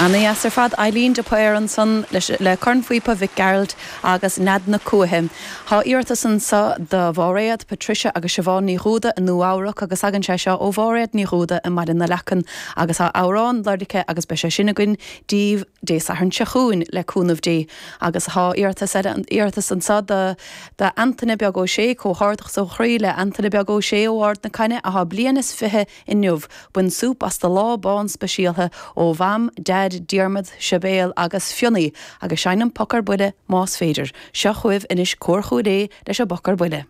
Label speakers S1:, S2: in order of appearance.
S1: Ana-dheas ar fad. Eileen de Paor ansan leis le cornphíopa Mhic Gearailt agus Nead na Cuaiche. Tá iarratas anso do Mháiréad, Patricia agus Siobhán Ní Dhúda i Nua Eabhrac agus tagann sé seo ó Mháiréad Ní Dhúda i mBaile na Leacan agus tá amhrán lorgtha aici agus beidh sé sin againn díbh Dé Sathairn seo chugainn le cúnamh Dé. Agus tá iarratas eile iarratas anso do do Antaine Beag Ó Sé, Comhghairdeachas ó chroí le Antaine Beag Ó Sé ó Ard na Caithne athá bliain is 20 inniu. Bain súp as do lá bán speisialtha ó Mham, Deaid, Diarmaid, Sibéal agus Fionnaí agus seinn an Poc ar Buile más féidir. Seo chugaibh anois Cór Chúil Aodha leis an bPoc ar Buile.